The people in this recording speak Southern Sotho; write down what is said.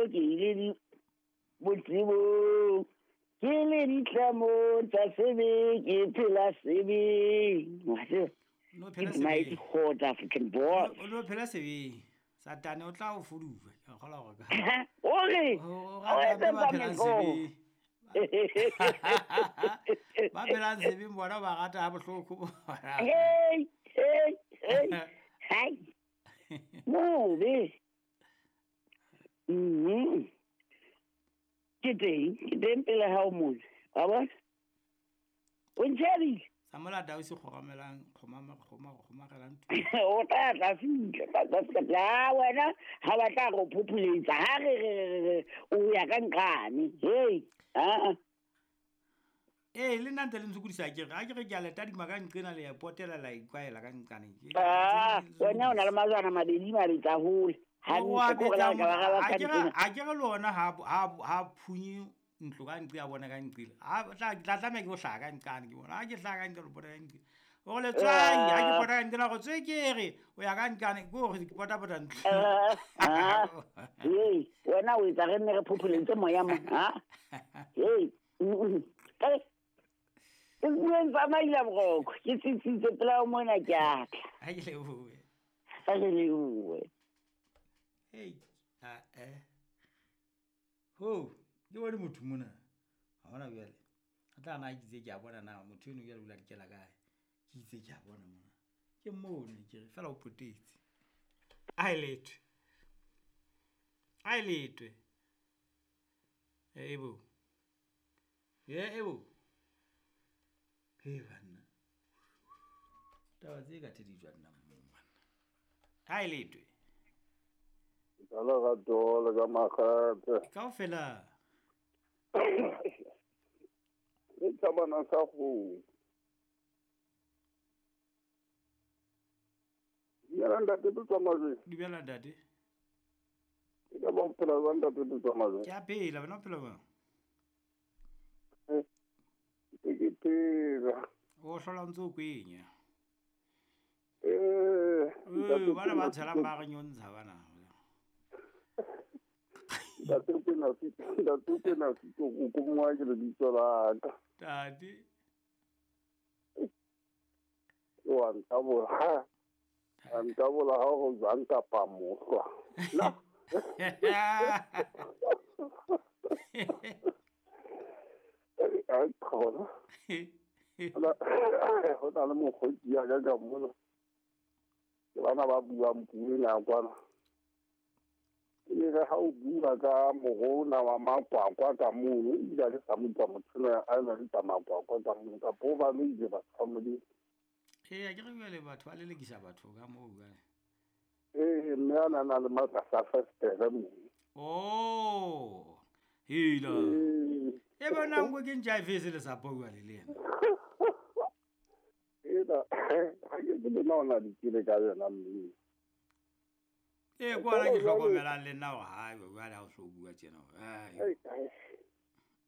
Ke ile botsebong ke le ditlamo tsa sebe ke phela sebeng. Wa tseba? No phela It's mighty sebeng. Hot African boy. O no phela sebeng. Satane o tla o fuduwa. Ke a kgolwa hore ka. O re O o rata etsetsa ba phelang meqomo. sebeng. Ba phelang sebeng bona ba rata ha bohloko bona. Hey, hey, hey. Hai. Mobe. Ke teng pele ha o mona. Wa bona? O ntjhebile. Sa molata o se kgoramelang, kgomarelang tu. O tla tla fihla, tla tla fihla. La wena ha ba tla go phopholetsa. Ha re re re re o ya ka nqane. Hey, a. Ee, le nna ntse le ntshokodisa ke re, ha ke re ke a le tadima ka nqena le ya potela la ikwahela ka nqane. Ah, wena o na le majwana mabedi mabetsa hole. Hantle ke hore la ka ba ra ba ka nqena. Ha ke re le ona ha phunye ntlo ka nqe a bona ka nqile. Ha tla tlameha ke ho hlaha ka nqane ke bona. Ha ke hlaha ka nqe le bona ka nqe. O re letswai, ha ke pota ka nqena go tswe ke re o ya ka nqane ke hore ke pota-pota ntlo. Hey, wena o etsa re nne re phopholetse moya mo, ha? Hey. Ke bueng tsamaila boroko, ke tsitsitse pela o mona ke a tla. Ha ke lebohe. Ha ke lebohe. Hey, a eh. Ho, ke bone motho mona. Ha hona jwale. A tla na ke itse ke a bona na motho eno jwale o la dikela kae. Ke itse ke a bona mona. Ke mone ke re fela o potetse. A e lethwe. A e lethwe. Ebo. Ye ebo. He banna. Taba tse ka thedijwa nna mong banna. Ha e lethwe. Ka lerato le ka makgethe. Kaofela. Le thabana sa go. Dumela ntate Tsamajwe. Dumela ntate. Ke ka ba o phela jwang ntate Tsamajwe? Ke a phela, wena o phela jwang? Ke phela. O hlola o ntse o kwenya. Ntate Bana ba Kwena tshelang ba re nyontsha bana. Ntate Kwena Sito, ntate Kwena Sito, o ko mongwe ke lebitso la ka. Ntate. O a ntabola. A ntabola ha o jwang kapa mohlwa. Na. A khona. Ho na le mokgotsi ya ka ka mona. Ke bana ba buang puo ena kwana. E re ha o bua ka morona wa makwakwa ka mono, ebile ha ke sa mo utlwa motho enwa a na le tsa makwakwa ka mono, kapa o ba loile batho ba Modimo. Ee, ha ke re jwale batho ba lelekisa batho ka moo jwale. Ee, mme a na le matlasa a festere moo. Oh, hela. Ee. E bona nko ke ntja e fese le sapo jwale le yena. Ena, ha ke tsebe na o na dikele ka yona mme. Ee, ke ona ke hlokomelang le nna hore ha jwale ha o so bua tjena hore, ai. Ai, ai.